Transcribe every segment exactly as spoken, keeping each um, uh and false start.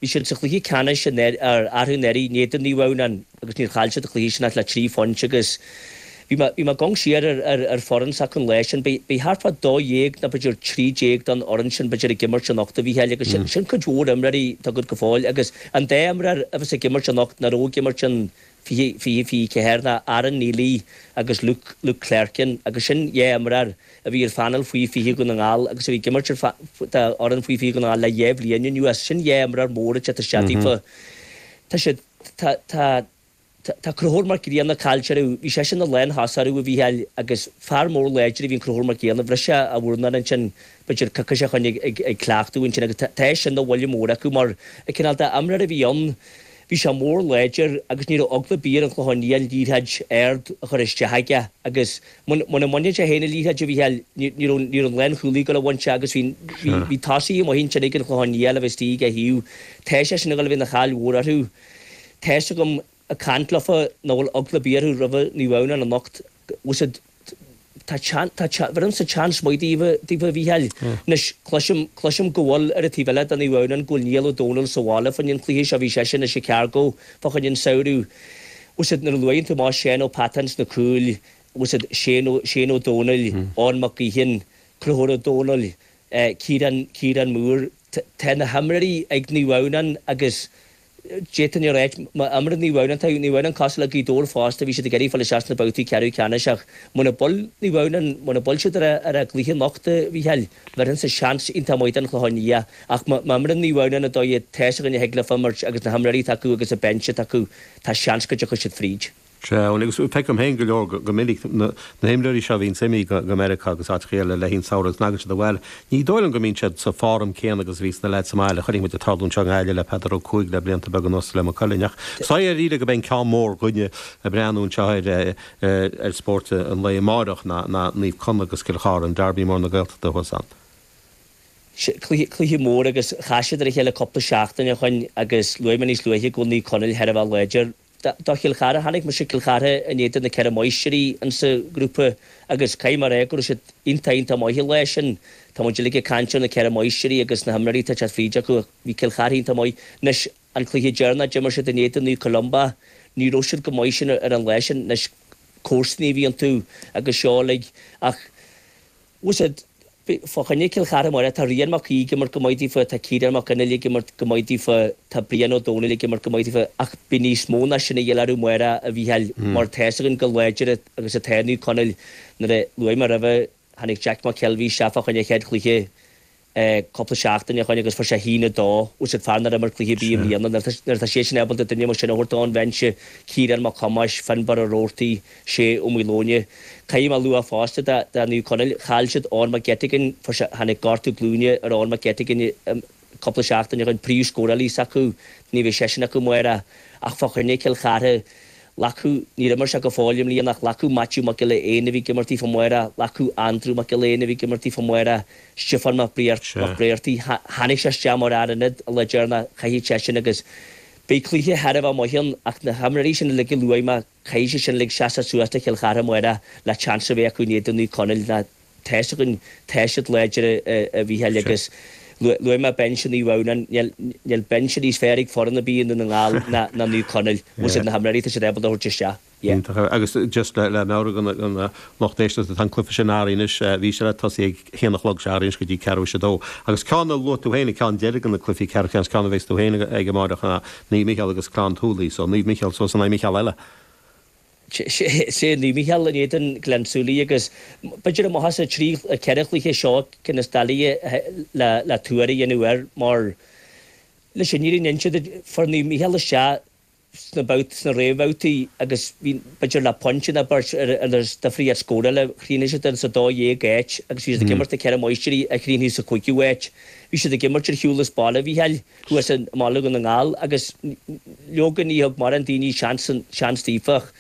Bhí siad sa chluiche ceannais arú anuraidh in éadan Naomh Adhamhnáin agus níor chaill siad an cluiche sin ach le trí phointe agus bhí mé bhí mé ag amharc siar ar ar ar foireann s'acu an lá sin. Beidh beidh thart fá dó dhéag nó b'fhéidir trí déag den fhoireann sin b'fhéidir ag imirt anocht a Mhícheáil agus sin sin cuid mhór imreoirí atá agat go fóill agus an dá imreoir a bheas ag imirt anocht nach raibh ag imirt in fiche fiche fiche ceathair ná Aaron Neely agus Luke Luke Clerkin agus sin dhá imreoir a bhí ar phainéal faoi fiche Dhún na nGall agus a bhí ag imirt ar d'fhoireann faoi fiche Dhún na nGall le dhá bhliain anuas. Sin dhá imreoir mór atá isteach daofa. Tá siad tá tá tá Conchúr Mac Grianna caillte orthu. Bhí seisean ina lánthosach orthu a Mhícheáil agus fear mór láidir a bhí in Conchúr Mac Grianna. Bhris sé a mhurnán ansin b'fhéidir coicís ó shoin ag ag ag cleachtadh ansin agus tá tá sin ina bhuille mór acu mar an cineál d'imreoir a bhí ann. Bhí sé mór láidir agus ní raibh eagla ar bith ar an Chlochán Liath an liathróid ard a chur isteach aige agus muna mbaineann sé féin an liathróid a Mhícheáil ní raibh ní raibh an lánchúlaí ag dul a bhaint agus bhí bhí bhí tosaithe amuigh ansin ag an Chlochán Liath le bheith istigh ag a thaobh. Tá sé sin ag dul a bheith ina chaill mhór orthu. Tá's agam ag caint leofa nach bhfuil eagla ar bith orthu roimhe Naomh Adhamhnáin anocht. Bhfuil siad Tá tá bheirimse seans maith daoibh daoibh a Mhícheáil. Anois cloisim cloisim go bhfuil ar an taobh eile de Naomh Adhamhnáin go bhfuil Niall Ó Dónaill sa bhaile fá choinne an chluiche seo bhí seisean i Chicago fá choinne an samhradh. Bhfuil siad nuair a luaigheann tú amach Seán Ó Peatáin sna cúil bhfuil siad Shane Ó Shane Ó Dónaill, Eoin Mac Gaoithín, Conchúr Ó Dónaill, Ciarán Ciarán Moore. Tá na himreoirí ag Naomh Adhamhnáin agus D'fhéadfainn a ráit, má imríonn Naomh Adhamhnáin, tá Naomh Adhamhnáin cosúil le Gaoth Dobhair fosta, bhí siad ag iarraidh fáil isteach sna babhtaí ceathrú ceannais ach muna bhfuil Naomh Adhamhnáin, muna bhfuil siad ar a gcluiche anocht, a Mhícheáil, bheirfinnse seans iontach maith don Chlochán Liath ach má imríonn Naomh Adhamhnáin an dóigh tá's againn a thig leofa imirt agus na himreoirí atá acu agus an binse atá acu, tá seans go dtiocfaidh siad fríd. Sea, agus feicim féin go leor go minic na himreoirí seo a bhíonns imithe go Meiriceá agus áiteacha eile le haghaidh an samhradh agus tagann siad abhaile. Ní dóigh liom go mbíonn siad sa form céanna agus a bhíos na leaids sa mbaile. Chonaic muid ag tarlú anseo i nGaillimh le Peadar Ó Cuaig le blianta beaga anuas le Maigh Cuilinn. Ach is dóigh go mbeidh an ceann mór againne ag breathnú anseo ar ar spórt an lae amáireach ná Naomh Conaill agus Cill Chartha, an Derby mór na Gaeltachta thuas ann. Cluiche mór agus chas siad ar a chéile cúpla seachtain ó shoin agus luaigh mé níos luaithe go bhfuil Naomh Conaill thar a bheith láidir. Do Chill Chartha, chonaic mise Cill Chartha in éadan na Ceithre Máistrí insa ghrúpa agus caithfidh mé a rá go raibh siad iontach iontach maith an lá sin. Tá muid uilig ag caint ar na Ceithre Máistrí agus na himreoirí atá ag teacht fríd acu ach bhí Cill Chartha iontach maith. Anois an cluiche deireanach d'imir siad in éadan Naomh Columba, ní raibh siad go maith sin ar an lá sin. Anois comharsanaí a bhí iontu agus seo uilig ach bhfuil siad fá choinne Cill Chartha amárach, tá Rian Mac Aoidh ag imirt go maith daofa, tá Ciarán Mac Fhionnghaile ag imirt go maith daofa, tá Brian Ó Domhnaill ag imirt go maith daofa, ach beidh níos mó ná sin a dhíobháil orthu amárach, a Mhícheáil, mar tá's againn chomh láidir agus atá Naomh Conaill. Nuair a luaigh mé roimhe, tháinig Jack McKelvey isteach fá choinne a chéad chluiche cúpla seachtain ó shoin agus fuair sé a haon a dó, bhfuil siad fear nár imir cluiche ar bith i mbliana. Nuair atá sé sin ábalta duine mar sin a thabhairt ón bhinse, Ciarán Mac Thomáis, Fionnbarr Ó Roarty, Shay Ó Maoileoine. Caithfidh mé a lua fosta do Naomh Conaill, chaill siad Eoin McGettigan, fuair sé, tháinig gortú glúine ar Eoin McGettigan cúpla seachtain ó shoin, príomhscórálaí s'acu, ní bheidh seisean acu amárach ach fá choinne Cill Chartha, Glacadh, níor imir sé go fóill i mbliana ach glacadh Maitiú Mac Giolla Éin a bhí ag imirt daofa amárach, glacadh Andrew Mac Giolla Éin a bhí ag imirt daofa amárach, Stiofán Mac Briartaigh, tháinig sé isteach mar fhear ionaid an lá deireanach, chaithfeadh seisean agus beidh cluiche thar a bheith maith ann ach na himreoirí sin uilig a luaigh mé, caithfidh siad sin uilig seasamh suas do Chill Chartha amárach le chance a bheith acu in éadan Naomh Conaill ná tá's againn, tá siad láidir a Mhícheáil agus luaigh mé binse Naomh Adhamhnáin, níl níl binse níos fearr ag foireann ar bith i nDún na nGall ná ná Naomh Conaill, bhfuil siad na himreoirí tá siad ábalta a thabhairt isteach. Yeah. Iontach. Agus just le le meabhrú do na lucht éisteachta tá an cluiche sin athraithe anois, bhí sé le tosaí ag haon a chlog sé athraithe anois go dtí ceathrú théis a dó. Agus ceann a luaigh tú féin, an ceann deiridh de na cluichí ceathrú ceannais, ceann a bheas tú féin ag amáireach ná Naomh Micheál agus Clann tSúilí, so Naomh Micheál suas in aghaidh Micheál eile. Sea, Naomh Micheál in éadan Gleann tSúilí agus b'fhéidir amach as an trí, ceithre chluiche seo cinn is doiligh le tuar a dhéanamh air mar leis an fhírinne a inse duit, fuair Naomh Micheál isteach sna babhtaí, sna réamhbhabhtaí agus bhí b'fhéidir le pointe nó beirt ar an difríocht scórála, chríochnaigh siad sa dó dhéag áit agus bhí siad ag imirt na Ceithre Máistrí a chríochnaigh sa chúigiú háit. Bhí siad ag imirt ar shiúl as baile, a Mhícheáil, thuas i mBaile Dhún na nGall agus leoga ní thug mórán daoine seans seans daofa ach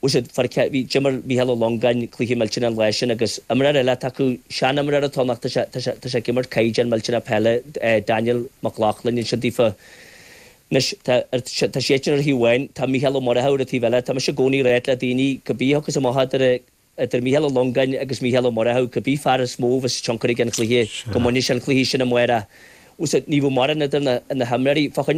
bhfuil siad fuair bhí d'imir Mícheál Ó Longáin cluiche millteanach an lá sin agus imreoir eile atá acu, seanimreoir atá ann ach tá sé tá sé tá sé ag imirt caighdeán millteanach peile, Daniel Mac Lochlainn ansin daofa. Anois tá tá siadsan ar thaobh amháin, tá Mícheál Ó Murchú ar an taobh eile. Tá mise i gcónaí ag ráit le daoine cibé a thiocfas amach idir Idir Mícheál Ó Longáin agus Mícheál Ó Murchú, cibé fear is mó a bheas tionchar aige an chluiche, go mbainfidh sé an cluiche sin amárach. Ní bheadh mórán idir na himreoirí. Fá choinne